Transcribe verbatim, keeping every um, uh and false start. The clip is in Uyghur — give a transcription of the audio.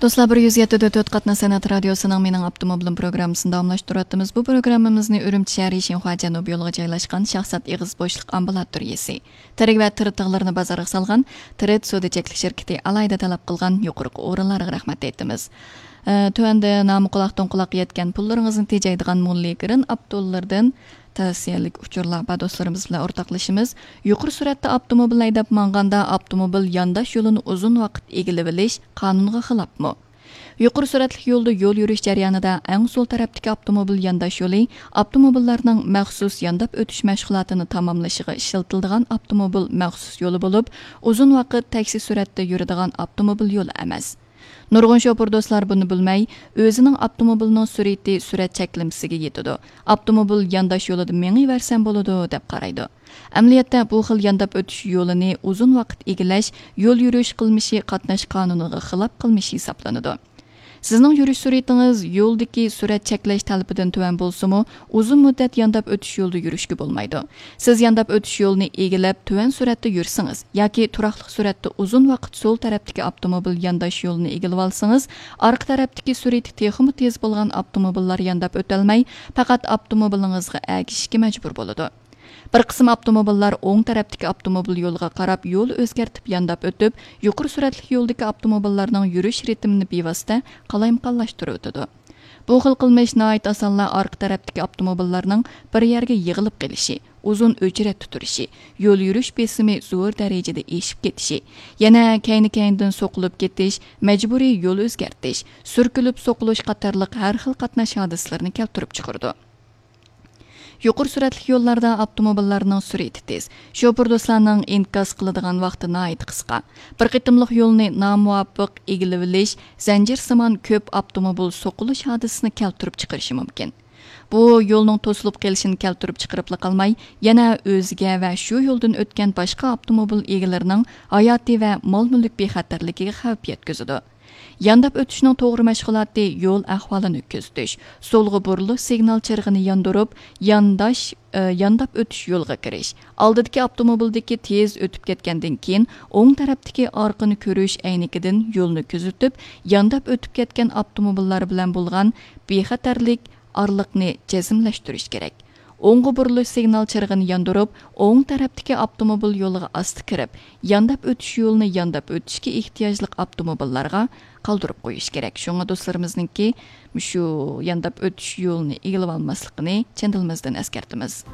دوستلار، بىر يۈز يەتتە دۆت تۆت قاتناش سەنئەت رادىيوسىنىڭ مېنىڭ ئاپتوموبىلىم پروگراممىسىنى داۋاملاشتۇرۇۋاتىمىز. بۇ پروگراممىمىزنى ئۈرۈمچى شەھىرى شىنخۇا جەنۇبىي يولىغا جايلاشقان شاھزات ئېغىز بوشلۇق ئامبۇلاتورىيىسى، تىرىك ۋە تىرىت تىغلىرىنى بازارغا سالغان تىرىت سودا چەكلىك شىركىتى ئالاھىدە تەلەپ قىلغان يۇقىرىقى ئورۇنلارغا رەھمەت ئېيتىمىز. ئە، تۆۋەندە نامى قۇلاقتىن قۇلاققا يەتكەن، پۇللىرىڭىزنى تېجەيدىغان موللى گرىن ئاپتولىرىدىن تەۋسىيەلىك ئۇچۇرلار بار، دوستلىرىمىز بىلەن ئورتاقلىشىمىز. يۇقىرى سۈرئەتتە ئاپتوموبىل ھەيدەپ ماڭغاندا ئاپتوموبىل يانداش يولىنى ئۇزۇن ۋاقىت ئىگىلىۋېلىش قانۇنغا خىلاپمۇ؟ يۇقىرى سۈرئەتلىك يولدا يول يۈرۈش جەريانىدا ئەڭ سول تەرەپتىكى ئاپتوموبىل يانداش يولى ئاپتوموبىللارنىڭ مەخسۇس يانداپ ئۆتۈش مەشغۇلاتىنى تاماملىشىغا ئىشلىتىلىدىغان ئاپتوموبىل مەخسۇس يولى بولۇپ، ئۇزۇن ۋاقىت تەكشى سۈرئەتتە يۈرىدىغان ئاپتوموبىل يولى ئەمەس. نۇرغۇن شوپۇر دوستلار بۇنى بىلمەي، ئۆزىنىڭ ئاپتوموبىلىنىڭ سۈرئىتى سۈرئەت چەكلىمىسىگە يېتىدۇ، ئاپتوموبىل يانداش يولىدا مېڭىۋەرسەم بولىدۇ، دەپ قارايدۇ. ئەمەلىيەتتە، بۇ خىل يانداپ ئۆتۈش يولىنى ئۇزۇن ۋاقىت ئىگىلەش يول يۈرۈش قىلمىشى قاتناش قانۇنىغا خىلاپ قىلمىش ھېسابلىنىدۇ. سىزنىڭ يۈرۈش سۈرئىتىڭىز يولدىكى سۈرئەت چەكلەش تەلىپىدىن تۆۋەن بولسىمۇ، ئۇزۇن مۇددەت يانداپ ئۆتۈش يولىدا يۈرۈشكە بولمايدۇ. سىز يانداپ ئۆتۈش يولىنى ئىگىلەپ، تۆۋەن سۈرئەتتە يۈرسىڭىز ياكى تۇراقلىق سۈرئەتتە ئۇزۇن ۋاقىت سول تەرەپتىكى ئاپتوموبىل يانداش يولىنى ئىگىلىۋالسىڭىز، ئارقا تەرەپتىكى سۈرئىتى تېخىمۇ تېز بولغان ئاپتوموبىللار يانداپ ئۆتەلمەي، پەقەت ئاپتوموبىلىڭىزغا ئەگىشىشكە مەجبۇر بولىدۇ. بىر قىسىم ئاپتوموبىللار ئوڭ تەرەپتىكى ئاپتوموبىل يولىغا قاراپ يول ئۆزگەرتىپ يانداپ ئۆتۈپ، يۇقىرى سۈرئەتلىك يولدىكى ئاپتوموبىللارنىڭ يۈرۈش رىتىمىنى بىۋاسىتە قالايمىقانلاشتۇرۇۋېتىدۇ. بۇ خىل قىلمىش ناھايىتى ئاسانلا ئارقا تەرەپتىكى ئاپتوموبىللارنىڭ بىر يەرگە يىغىلىپ قېلىشى، ئۇزۇن ئۆچرەتتە تۇرۇشى، يول يۈرۈش بېسىمى زور دەرىجىدە ئېشىپ كېتىشى، يەنە كەينى-كەينىدىن سوقۇلۇپ كېتىش، مەجبۇرىي يول ئۆزگەرتىش، سۈركىلىپ سوقۇلۇش قاتارلىق ھەر خىل قاتناش ھادىسىلىرىنى كەلتۈرۈپ چىقىرىدۇ. يۇقىرى سۈرئەتلىك يوللاردا ئاپتوموبىللارنىڭ سۈرئىتى تېز، شوپۇر دوستلارنىڭ ئىنكاس قىلىدىغان ۋاقتى ناھايىتى قىسقا. بىر قېتىملىق يولنى نامۇۋاپىق ئىگىلىۋېلىش زەنجىرسىمان كۆپ ئاپتوموبىل سوقۇلۇش ھادىسىسىنى كەلتۈرۈپ چىقىرىشى مۇمكىن. بۇ يولنىڭ توسۇلۇپ قېلىشىنى كەلتۈرۈپ چىقىرىپلا قالماي، يەنە ئۆزىگە ۋە شۇ يولدىن ئۆتكەن باشقا ئاپتوموبىل ئىگىلىرىنىڭ ھاياتى ۋە مال-مۈلۈك بىخەتەرلىكىگە خەۋپ يەتكۈزىدۇ. يانداپ ئۆتۈشنىڭ توغرا مەشغۇلاتى يول ئەھۋالىنى كۆزىتىش، سولغا بۇرۇلۇش سىگنال چىرىغىنى ياندۇرۇپ، يانداش، ئە، يانداپ ئۆتۈش يولىغا كىرىش، ئالدىدىكى ئاپتوموبىلدىكى تېز ئۆتۈپ كەتكەندىن كېيىن، ئوڭ تەرەپتىكى ئارقىنى كۆرۈش ئەينىكىدىن يولنى كۆزىتىپ، يانداپ ئۆتۈپ كەتكەن ئاپتوموبىللار بىلەن بولغان بىخەتەرلىك ئارىلىقنى جەزملەشتۈرۈش كېرەك. ئوڭغا بۇرۇلۇش سىگنال چىرىغىنى ياندۇرۇپ، ئوڭ تەرەپتىكى ئاپتوموبىل يولىغا ئاستا كىرىپ، يانداپ ئۆتۈش يولىنى يانداپ ئۆتۈشكە ئېھتىياجلىق ئاپتوموبىللارغا قالدۇرۇپ قويۇش كېرەك. شۇڭا دوستلىرىمىزنىڭكى مۇشۇ يانداپ ئۆتۈش يولىنى ئىگىلىۋالماسلىقىنى چىن دىلىمىزدىن ئەسكەرتىمىز.